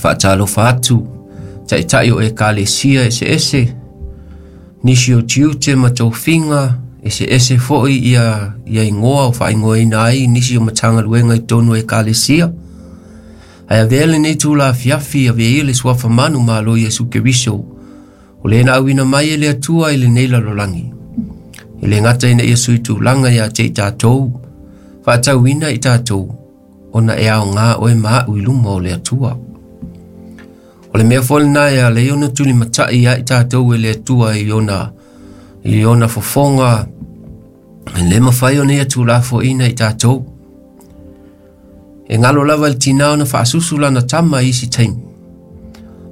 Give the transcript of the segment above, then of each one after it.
Faatalofa atu taitai o ekalesia eseese, nisi o tiute ma tofiga eseese foi ia igoa o faaigoaina ai nisi o Matagaluega i totonu o ekalesia. Ae avea lenei itula afiafi, avea ia le suafa manumalo Iesu Keriso, o le na auina mai e le Atua i lenei lalolagi. E le gata ina ia sui tulaga ia te i tatou, faatauina i tatou, ona e aoga oe ma a'u i luma o le Atua. O le mea foi lena e ala ai ona tulimatai ia i tatou e le Atua i ona fofoga, e le mafai ona ia tuulafoaiina i tatou. E galo lava i le tinā ona faasusu lana tama i isi taimi,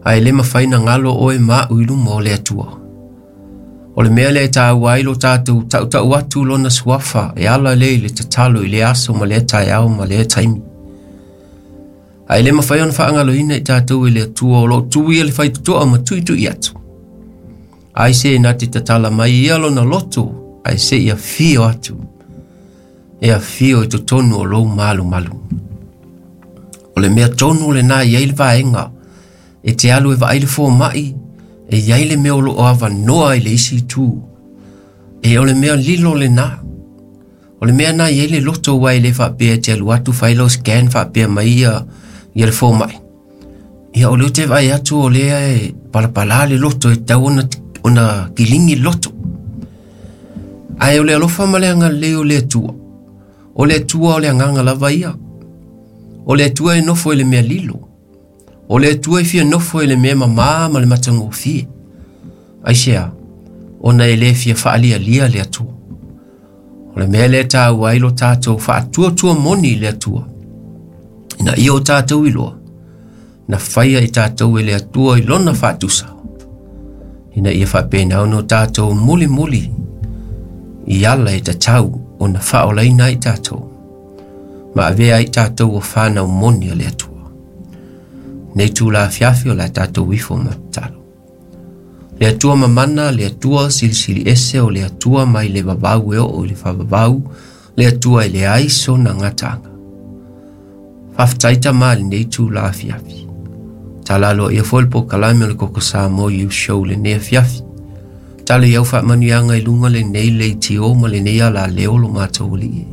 ae le mafai na galo oe ma a'u i luma o le Atua. O le mea lea e taua ai lo tatou tautau atu lona suafa e ala lea i le tatalo i le aso ma lea taeao ma lea taimi. Ae le mafai ona faagaloina i tatou e le Atua o lo o tu ia le faitotoa ma tuitui atu. Ai se na te tatala mai ia lona loto, ae se i afio atu. E afio i totonu o lou malumalu. O le mea tonu lena e i ai le vaega e te alu e vaai le fomai, e i ai le mea o lo o avanoa i le isi itu. E o le mea lilo lena. O le mea na i ai le loto aua e le faapea e te alu atu fai lau scan faapea mai ia le fomai. Ia o lea ou te vaai atu o lea e palapala le loto e tatau ona kiligi le loto. Ae o le alofa ma le agalelei o le Atua. O le Atua o le agaga lava ia. O le Atua e nofo i le mea lilo. O le Atua e fia nofo i le mea mamā ma le matagofie. Aisea? Ona e le fia faalialia le Atua. O le mea lea e taua ai lo tatou faatuatua moni i le Atua. Ina ia o tatou iloa, na faia i tatou e le Atua i lona faatusa. Ina ia faapena ona o tatou mulimuli i ala e tatau ona faaolaina ai tatou, ma avea ai tatou o whanau moni a le Atua. Nei tula afiafi o la tatou ifo ma tatalo. Le Atua mamana, le Atua silisili ese, o le Atua mai le vavau e oo i le faavavau, le Atua e leai sona gataaga. Faafetai Tama i lenei itula afiafi. Tala aloaia foi le polokalame o le Koko Samoa Youth Show lenei afiafi. Tala i au faamanuiaga i luga lenei leitio ma lenei alaleo lo matou alii.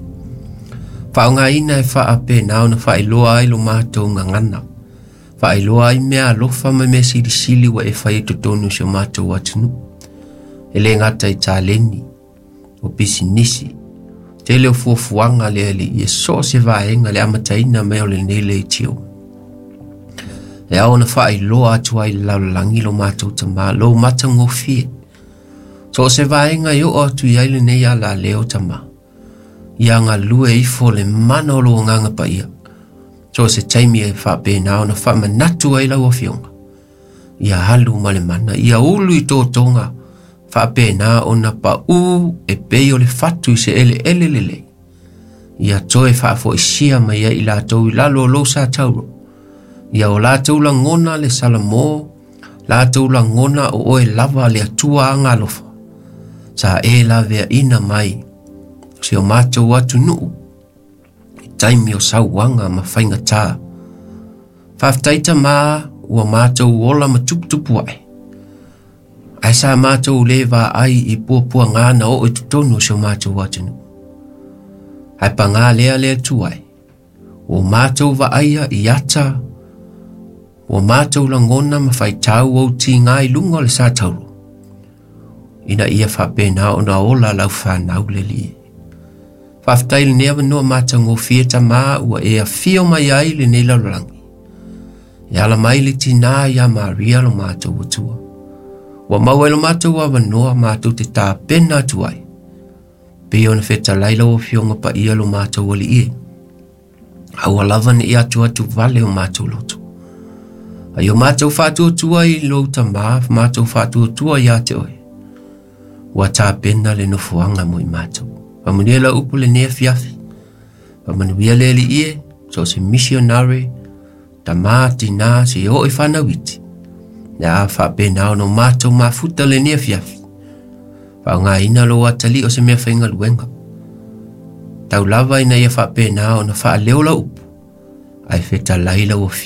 Faaaogaina e faapena ona faailoa ai lo matou gagana. Faailoa ai mea alofa ma mea silisili ua e fai i totonu o si o matou atunuu. E le gata i taleni, o pisinisi, tele o fuafuaga le alii e so o se vaega le amataina mai o lenei leitio. E ao ona faailoa atu ai i le lalolagi lo matou Tama, lou matagofie. So o se vaega e oo atu i ai lenei alaleo Tama, ia galue ifo le mana o lou agaga paia. So o se taimi e faapena ona faamanatu ai lau afioga, ia alu ma le mana, ia ulu i totoga, faapena ona pau e pei o le fatu i se eleele lelei. Ia toe faafoisia mai ai i latou i lalo o lou sa tauro. Ia o latou lagona le salamo, latou lagona o oe lava le Atua agalofa. Sa e laveaina mai si o matou atunuu i taimi o sauaga ma faigata. Faafetai Tama ua matou ola ma tuputupu ae. Ae sa matou le vaai i puapuaga na oo i totonu o si o matou atunuu. Ae pagā lea le Atua e, ua matou vaaia i ata, ua matou lagona ma faitau ou tiga i luga o le sa tauro, ina ia faapena ona ola lau fanau le Alii. Faafetai i lenei avanoa matagofie Tama ua e afio mai ai lenei lalolagi. E ala mai le tinā ia Maria lo matou Atua. Ua maua ai lo matou avanoa matou te tapena atu ai. Pei ona fetalai lau afioga paia lo matou alii e. Aua lava ne i atu atu vale o matou loto. Ai o matou faatuatua i lou Tama, matou faatuatua ia te oe. Ua tapena le nofoaga mo i matou. Faamanuia lau upu lenei afiafi. Faamanuia le Alii e, so o se missionary, tama, tina, se oo i fanau iti. Ia faapena ona o matou mafuta lenei afiafi. Faaaogaina lou atalii o se mea faigaluega. Tau lava ina ia faapena ona faaleo lau upu, ae fetalai lau afio.